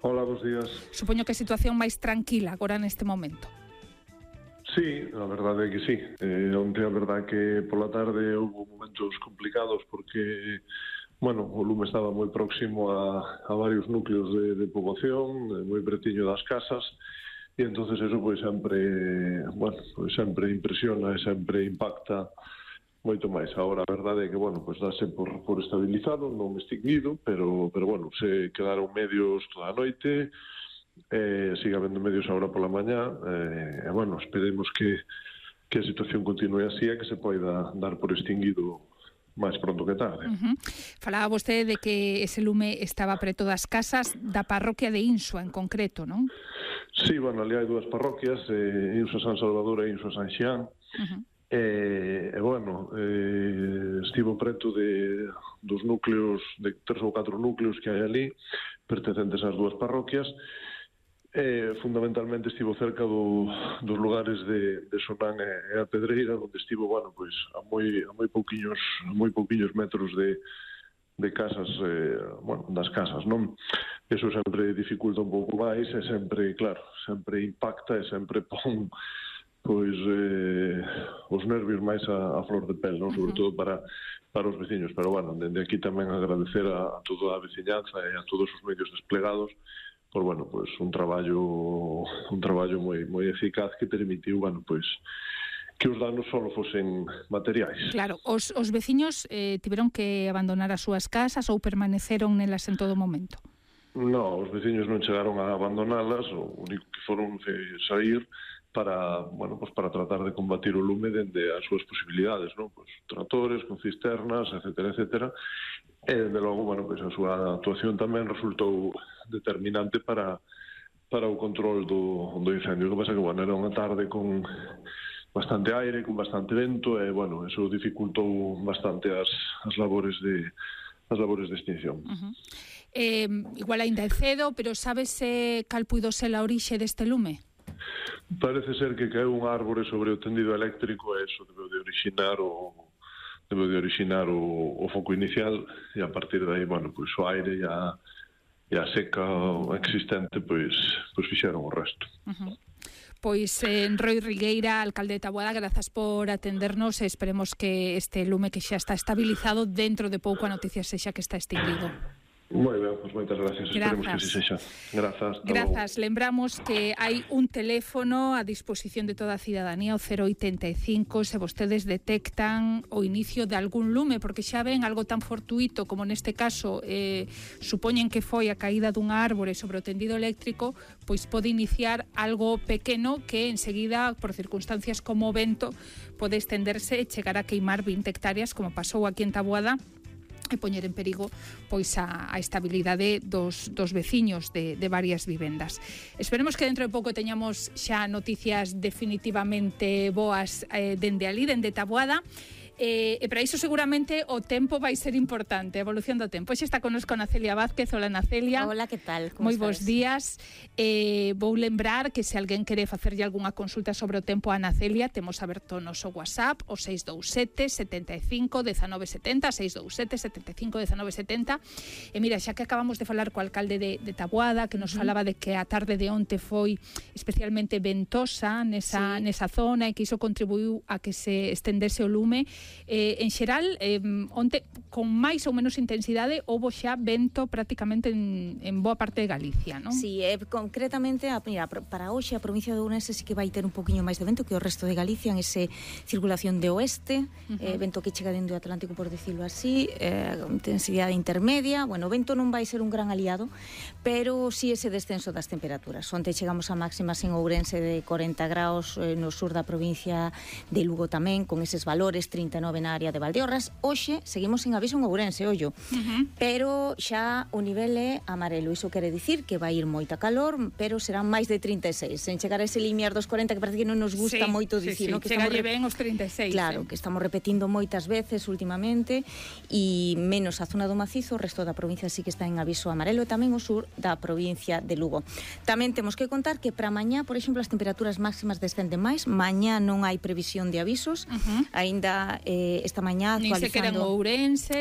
Hola, bons días. Supoño que a situación máis tranquila agora neste momento. Sí, a verdade é que sí. Onte a verdade que pola tarde houve momentos complicados porque, bueno, o lume estaba moi próximo a varios núcleos de poboación, moi pretiño das casas, e entonces eso pois sempre, bueno, pois sempre impresiona e sempre impacta moito máis. Agora a verdade é que, bueno, pois dáse por estabilizado, non extinguido, pero bueno, se quedaron medios toda a noite, siga habendo medios agora pola mañá, e bueno, esperemos que a situación continue así e que se poida dar por extinguido máis pronto que tarde. Falaba vostede de que ese lume estaba preto das casas da parroquia de Insua en concreto, non? Sí, bueno, ali hai dúas parroquias, Insua San Salvador e Insua San Xián, e bueno, estivo preto dos núcleos, de 3 ou 4 núcleos que hai ali, pertencentes ás dúas parroquias. Fundamentalmente estivo cerca dos lugares de Sonán e a Pedreira, onde estivo, bueno, pois a moi pouquiños metros de casas, bueno, das casas, non? Eso sempre dificulta un pouco máis e sempre, claro, sempre impacta e sempre pon pois os nervios máis a flor de pel, non? Sobre todo para os veciños, pero bueno, dende aquí tamén agradecer a toda a veciñanza e a todos os medios desplegados por, bueno, pois un traballo moi eficaz que permitiu, bueno, pois que os danos só fosen materiais. Claro, os veciños tiveron que abandonar as súas casas ou permaneceron nelas en todo momento? No, os veciños non chegaron a abandonalas, o único que foron sair para, bueno, pues para tratar de combatir o lume dende as súas posibilidades, non? Pues tractores, con cisternas, etcétera. E, dende logo, bueno, pues a súa actuación tamén resultou determinante para o control do incendio. O que pasa que, bueno, era unha tarde con bastante aire, con bastante vento, e, bueno, eso dificultou bastante as labores de extinción. Igual ainda é cedo, pero sabese cal puido ser a orixe deste lume? Parece ser que caeu un árbore sobre o tendido eléctrico e eso debe de orixinar o foco inicial, e a partir de aí, bueno, pois o aire e a seca existente pois fixeron o resto. Pois Roi Rigueira, alcalde de Taboada, grazas por atendernos e esperemos que este lume que xa está estabilizado dentro de pouco a noticia sexa que está extinguido. Moi ben, pois moitas gracias. Esperemos que así sexa. Grazas. Lembramos que hai un teléfono a disposición de toda a cidadanía, o 085, se vostedes detectan o inicio de algún lume, porque xa ven algo tan fortuito como neste caso supoñen que foi a caída dunha árbore sobre o tendido eléctrico, pois pode iniciar algo pequeno que enseguida, por circunstancias como o vento, pode estenderse e chegar a queimar 20 hectáreas, como pasou aquí en Taboada, e poñer en perigo pois a estabilidade dos veciños de varias vivendas. Esperemos que dentro de pouco teñamos xa noticias definitivamente boas dende ali, dende Taboada. E para iso seguramente o tempo vai ser importante, a evolución do tempo. Hoxe está connosco Nacelia Vázquez. Hola, Nacelia. Hola, que tal? Como moi bons días. Vou lembrar que se alguén quere facerlle algunha consulta sobre o tempo a Nacelia, temos aberto o noso WhatsApp, o 627 75 19 70, 627 75 19 70. E mira, xa que acabamos de falar co alcalde de Taboada, que nos falaba de que a tarde de onte foi especialmente ventosa nesa zona e que iso contribuiu a que se estendese o lume. En xeral, onte con máis ou menos intensidade houbo xa vento prácticamente en boa parte de Galicia, non? Sí, concretamente mira, para hoxe a provincia de Ourense sí que vai ter un poquinho máis de vento que o resto de Galicia, en ese circulación de oeste, vento que chega dentro do Atlántico, por decirlo así, intensidade intermedia. Bueno, o vento non vai ser un gran aliado, pero sí ese descenso das temperaturas. Onte chegamos a máximas en Ourense de 40 graus, no sur da provincia de Lugo tamén, con eses valores, 39 na área de Valdeorras. Hoxe seguimos sin aviso en Ourense, ollo, pero xa o nivel é amarelo. Iso quere dicir que vai ir moita calor, pero serán máis de 36. En chegar a ese limiar dos 40, que parece que non nos gusta moito dicir, ¿no? Que chegalle ben os 36. Claro, que estamos repetindo moitas veces últimamente, e menos a zona do Macizo, o resto da provincia sí que está en aviso amarelo, e tamén o sur da provincia de Lugo. Tamén temos que contar que para mañá, por exemplo, as temperaturas máximas descenden máis. Mañá non hai previsión de avisos, aínda esta mañá actualizando...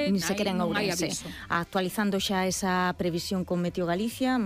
Nin sequera en Ourense, actualizando xa esa previsión con Meteo Galicia.